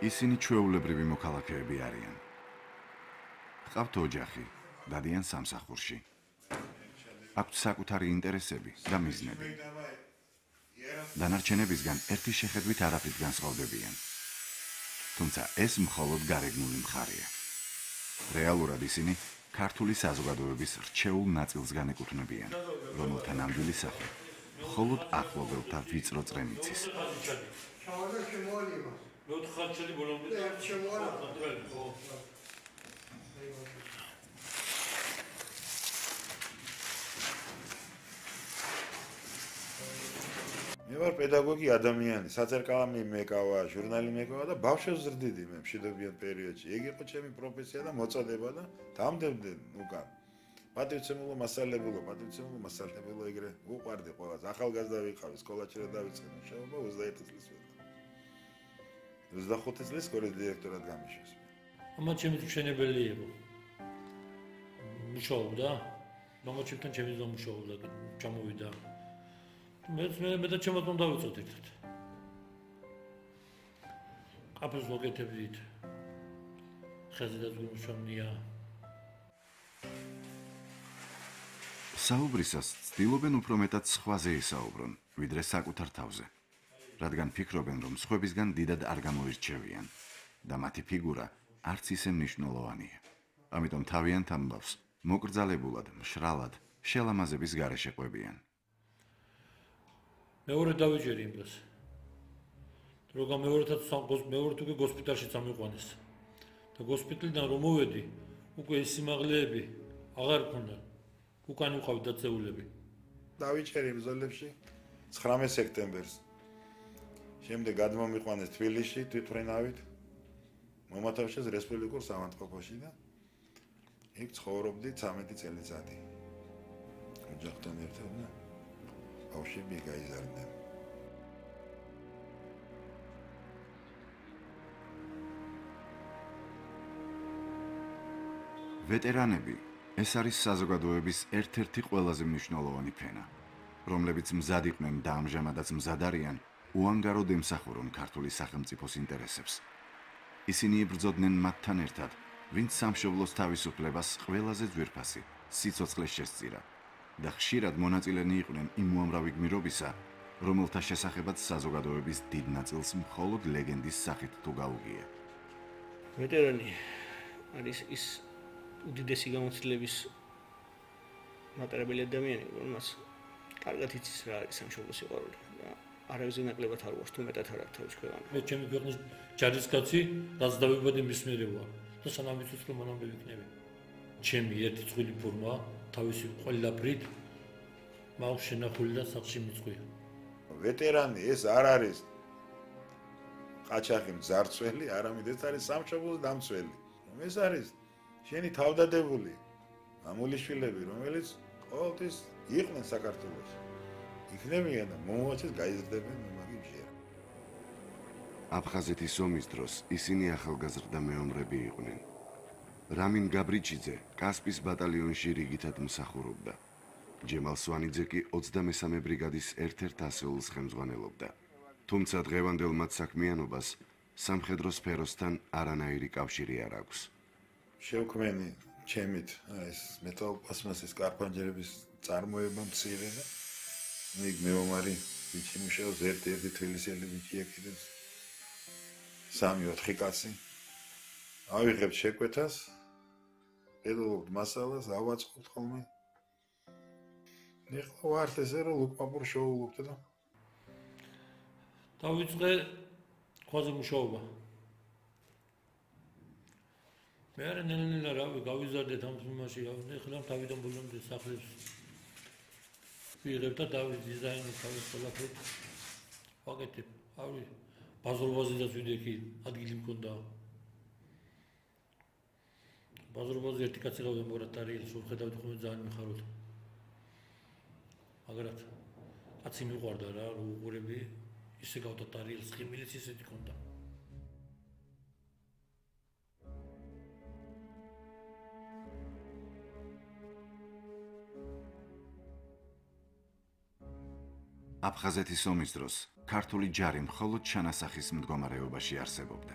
ისინი ჩვეულებრივი მოქალაქეები არიან. ყავთ ოჯახი, დადიან სამსახურში. აქვთ საკუთარი ინტერესები და მიზნები. დანარჩენებისგან ერთი შეხედვით არაფრით განსხვავდებიან. თუმცა ეს მხოლოდ გარეგნული მხარეა. რეალურად ისინი ქართული საზოგადოების რჩეულ ნაწილს განეკუთვნებიან, რომელთა ნამდვილი სახე მხოლოდ ახლობელთა ვიწრო წრემიცის. მე ვარ პედაგოგი ადამიანი, საწერკალამი მეკავა, ჟურნალი მეკავა და ბავშვებს ზრდიდი მე მშვიდობიან პერიოდში. ეგ იყო ჩემი პროფესია და მოწოდება და დამდებდი უკან. პატივცემულო მასალებულო ეგრე უყვარდი ყველას. ახალგაზრდა ვიყავი, სკოლაში რა დავიწყე მუშაობა 21 წლის ვიყავ. 25 წლის სკოლის დირექტორად გამიშვეს. ამათ ჩემი მშენებელი იყო. მუშაობდა, მამაჩემთან ჩემი ზომ მუშაობდა, ჩამოვიდა. მე და ჩემთან დავიცოთ ერთად. აფს მოგეთებდით. ხეზე და გულშემია. საუბრისას ცდილობენ უფრო მეტად სხვაზე ისაუბრონ, ვიდრე საკუთარ თავზე. რადგან ფიქრობენ, რომ სხვებისგან დიდად არ გამოირჩევიან და მათი ფიგურა არც ისე მნიშვნელოვანია. ამიტომ თავიანთ ამბავს მოკრძალებულად, მშრალად, შელამაზების გარეშე ყვებიან. მეორე დავიჯერი იმ დროს. როგორ მეორედაც მეორე უკვე ჰოსპიტალში წამიყვანეს. და ჰოსპიტალიდან რომ მოვედი, უკვე ეს სიმაღლეები აღარ მქონდა. უკან ვიყავი დაწეულები. დავიჭერი ბრძოლებში 19 სექტემბერს. შემდეგ გადმომიყვანეს თბილისში თვითმფრინავით. მომათავშეს რესპუბლიკურ სამართყოფოში და იქ ცხოვრობდი 13 წელიწადი. ოჯახთან ერთად და ბავშვები გაიზარდნენ. ვეტერანები ეს არის საზოგადოების ერთ-ერთი ყველაზე მნიშვნელოვანი ფენა, რომლებიც მზად იყვნენ და ამჟამადაც მზად არიან უანგაროდ ემსახურონ ქართული სახელმწიფოს ინტერესებს. ისინი იბრძოდნენ მათთან ერთად, ვინც სამშობლოს თავისუფლებას ყველაზე ძვირფასი სიცოცხლე შესწირა და ხშირად მონაწილენი იყვნენ იმ უამრავი გმირობისა, რომელთა შესახებაც საზოგადოების დიდ ნაწილს მხოლოდ ლეგენდის სახით თუ გაუგია. ვეტერანი არის ის უდიდესი გამოცდილების მატარებელი ადამიანი, რომელსაც კარგად იცის რა არის სამშობლოს სიყვარული და არავის ნაკლებად არ უარს თუ მეტად არ აქვს თავის ქვეყანა. მე ჩემი ქვეყნის ჯარისკაცი, რაც დავიბადე მის მიერე ვარ და სანამ ვიცით რომ მანამდე ვიქნები. ჩემი ერთი წყვილი ფორმა თავისი ყველაფრით მაქვს შენახული და სახში მიწყვია. ვეტერანი ეს არ არის ყაჩაღი მძარცველი, არამედ ეს არის სამშობლოს დამცველი. ეს არის შენი თავდადებული მამულიშვილები, რომელიც ყოველთვის იყვნენ საქართველოში. იქნებიან და მომავალშიც გაიზრდებიან მაგ ჯერ. აფხაზეთის ომის დროს ისინი ახალგაზრდა მეომრები იყვნენ. რამინ გაბრიჩიძე კასპის ბატალიონში რიგითად მსახურობდა. ჯემალ სვანიძე კი 23 ბრიგადის ერთ-ერთ ასეულს ხელმძღვანელობდა. თუმცა დღევანდელ მათ საქმიანობას სამხედრო სფეროსთან არანაირი კავშირი არ აქვს. შევქმენი ჩემით ეს მეტალ-პლასმასის კარპანჯერების წარმოება მცირე და იქ მეომარი ბიჭი მუშაობს ერთ-ერთი თბილისელი ბიჭია კიდევ 3-4 კაცი. ავიღებთ შეკვეთას, პედაგოგ მასალას ავაწყობთ ხოლმე. ეხლა ვართ ესე რომ ლუკმაპურ შოულობთ და დავიწყე ქვაზე მუშაობა. მე არ ნელ-ნელა რავი გავიზარდეთ ამ თემაში, ეხლა თავიდან ბოლომდე სახლებს ვიღებ და დავიზაინე თავის ყველაფერს. ვაკეთებ, ავი ბაზრობაზედაც ვიდექი, ადგილი მქონდა. ბაზრობაზე ერთი კაცი ყავდა მორატარიელს, ვხედავდი ხოლმე ძალიან მიხაროთ. მაგრამ კაცი მიყვარდა რა, უყურები, ისე გავდატარიელს, ხიმილიც ისეთი ქონდა. აფხაზეთის ომის დროს ქართული ჯარი მხოლოდ ჩანასახის მდგომარეობაში არსებობდა.